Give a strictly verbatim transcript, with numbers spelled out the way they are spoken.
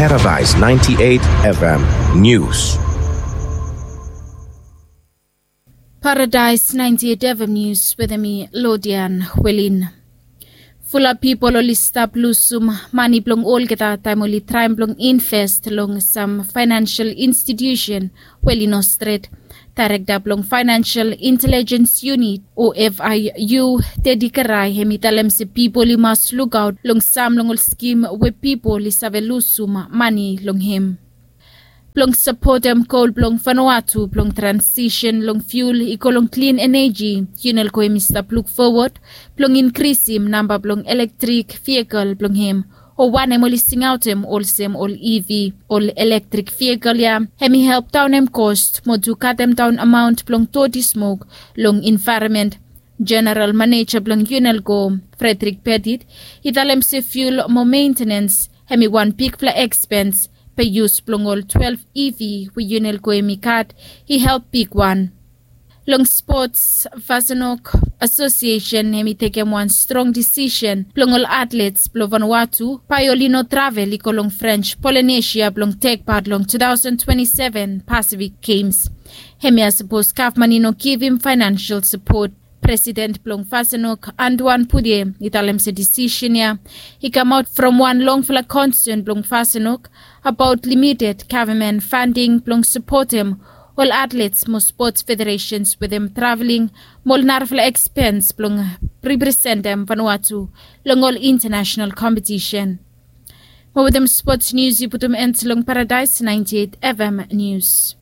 Paradise ninety-eight F M News. Paradise ninety-eight F M News wetem mi, Lodian Welin. Fulap pipol oli stap lusum mane blong olgeta taem oli traem blong invest long sam faenansial institusen we oli no stret. Daerekta blong Faenansial Intelejens Yunit o F I U, Teddy Kerai, hem i talem se pipol i mas lukaot long sam long ol skim we pipol i save lusum mane long hem. Blong sapotem gol blong Vanuatu blong transisen long fiul i go long klin eneji, Unelco hem i stap luk fowod blong inkrisim namba blong elektrik vehikel blong hem, o wanem oli singaotem olsem ol E V. Ol elektrik vehikel ya hem i help daonem kos mo tu katem daon amaon blong doti smok long envaeronmen. Jeneral Maneja blong Unelco, Frederick Petit, i talem se fiul mo mentenens hem i wan bigfala ekspens. Be yus blong ol twelef E V we Unelco hem i gat i help bigwan. Long spots, Vasenok Asosiesen hem i tekem wan strong disisen blong ol atlets blong Vanuatu bae oli no travel i go long French Polynesia blong tek pat long two thousand twenty-seven Pacific Games. Hemia sapos gavman i no givim faenansial sapot. Presiden blong Vasenok, Antoine Poudier, i talem se disisen ya i kamaot from wan longfala konsen blong Vasenok abaot limited gavman fanding blong sapotem ol atlets mo spots federesens wetem traveling mo ol narafala ekspens blong representem Vanuatu long ol intanasenal kompetisen. Mo wetem spots nius i putum en long Paradise ninety-eight F M News.